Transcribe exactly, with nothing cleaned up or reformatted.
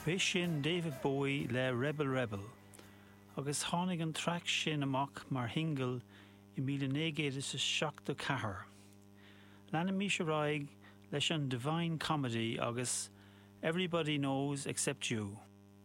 B'é sin David Bowie le Rebel Rebel, agus tháinig an traic sin amach mar shingil i míle naoi gcéad is a seachtó ceathair. Leanaimis ar aghaidh leis an Divine Comedy agus Everybody Knows Except You.